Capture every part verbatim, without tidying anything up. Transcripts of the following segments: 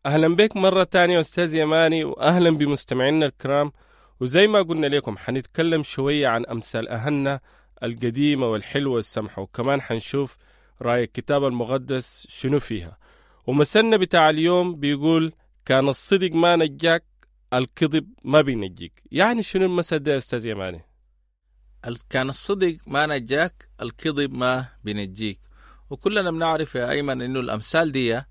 أهلا بك مرة تانية أستاذ يماني، وأهلا بمستمعينا الكرام. وزي ما قلنا لكم حنتكلم شوية عن أمثال أهلنا القديمة والحلوة والسمحة، وكمان حنشوف رأي الكتاب المقدس شنو فيها. ومثلنا بتاع اليوم بيقول كان الصدق ما نجاك الكذب ما بينجيك. يعني شنو المثل ده يا أستاذ يماني؟ كان الصدق ما نجاك الكذب ما بينجيك. وكلنا بنعرف يا أيمن إنه الأمثال دي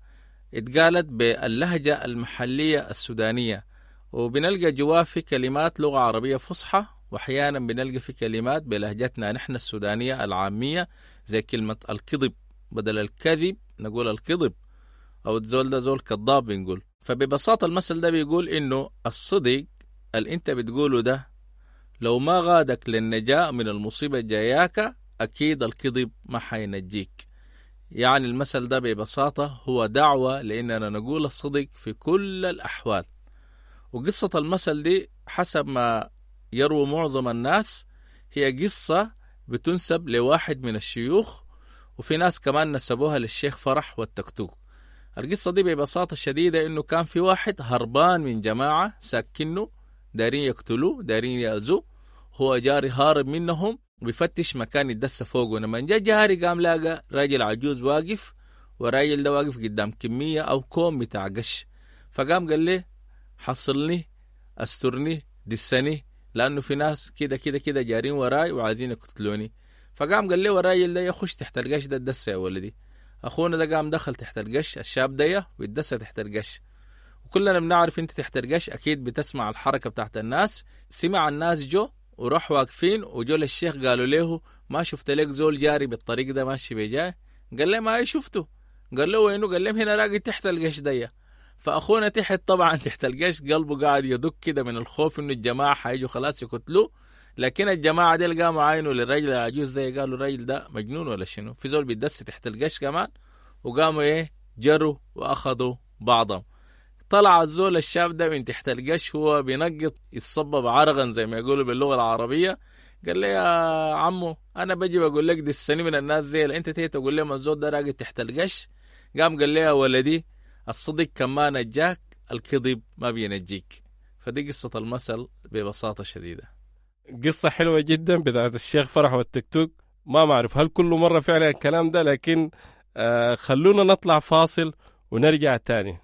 اتقالت باللهجة المحلية السودانية، وبنلقى جواه في كلمات لغة عربية فصحى، وأحيانا بنلقى في كلمات بلهجتنا نحن السودانية العامية، زي كلمة الكذب بدل الكذب نقول الكذب، أو الزول ده زول كذاب بنقول. فببساطة المثل ده بيقول إنه الصدق اللي أنت بتقوله ده لو ما غادك للنجاة من المصيبة الجاياك أكيد الكذب ما حينجيك. يعني المثل ده ببساطة هو دعوة لأننا نقول الصدق في كل الأحوال. وقصة المثل دي حسب ما يروي معظم الناس هي قصة بتنسب لواحد من الشيوخ، وفي ناس كمان نسبوها للشيخ فرح والتكتوك. القصة دي ببساطة شديدة إنه كان في واحد هربان من جماعة ساكنه دارين يقتلوه دارين يأذوه، هو جاري هارب منهم وبيفتش مكان يدس فوقه. لما جاء جاري قام لاقى راجل عجوز واقف، والراجل ده واقف قدام كمية أو كوم بتاع قش، فقام قال لي حصلني استرني دسني لأنه في ناس كده كده كده جارين وراي وعايزين يقتلوني. فقام قال لي والراجل ده يخش تحت القش ده الدسة يا ولدي. أخونا ده قام دخل تحت القش الشاب ده ويتدسى تحت القش، وكلنا بنعرف انت تحت القش أكيد بتسمع الحركة بتاعت الناس. سمع الناس جو وراح واقفين، وجو للشيخ قالوا له ما شفت لك زول جاري بالطريق ده ماشي بجاي؟ قال له ما شفته. قال له وينه؟ قال لهم هنا راقي تحت القش ده. فأخونا تحت طبعا تحت القش قلبه قاعد يدق كده من الخوف إنه الجماعة حيجوا خلاص يقتلوه. لكن الجماعة دي قاموا عاينوا للرجل العجوز زي قالوا الرجل ده مجنون ولا شنو، في زول بيدس تحت القش كمان. وقاموا إيه جروا وأخذوا بعضهم. طلع الزول الشاب ده من تحت القش هو بينقط يتصبب عرقا زي ما يقولوا باللغة العربية. قال لي يا عمو أنا بجي بقول لك دي السنة من الناس زي أنت تيجي تقول لي الزول ده راقد تحت القش. قام قال لي يا ولدي الصدق كما نجاك الكذب ما بينجيك. فدي قصة المثل ببساطة شديدة. قصة حلوة جدا بتاعت الشيخ فرح والتكتوك. ما معرف هل كل مرة فعلا الكلام ده، لكن آه خلونا نطلع فاصل ونرجع تاني.